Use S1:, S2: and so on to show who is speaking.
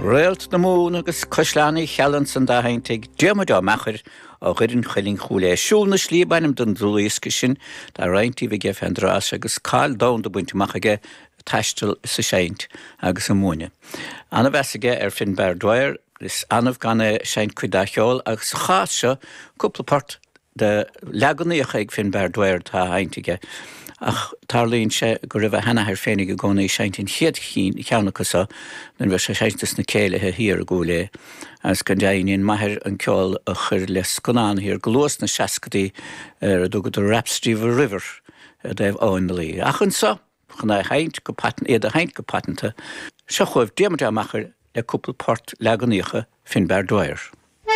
S1: Réalt na Mumhan agus Caisleán Uí Cheallaigh ansan dá sheinnt ag Diarmuid Ó Meachair ó Dhoire an Chuilinn Chúil Aodha. Siúl na Slí ab ainm don dlúthdhiosca sin tá roinnt díobh aige fén dtráth seo agus cáil domhanda bainte amach aige ag taisteal is ag seinnt agus ag múineadh. Ana-mheas aige ar Finbar Dwyer, is annamh gan é ag seinnt cuid dá cheol agus sa chás seo cúpla port de leaganaíocha ag Finbar Dwyer atá á sheinnt aige, ach tarlaíonn sé go raibh a sheanathair féinig i gcónaí ag seinnt an chéad cheann acu so nuair a bheadh sé ag seinnt sna céilithe thiar i gCúil Aodha, agus go deimhin dhein m'athair an ceol a chuir le scannán thiar go luath sna seascadaí ar a dtugadar Rhapsody of a River i dtaobh Abhainn na Laoi. Ach anso, chun é a sheinnt go paiteanta, iad a sheinnt go paiteanta, seo chugaibh Diarmuid Ó Meachair le cúpla port leaganaíocha Finbar Dwyer.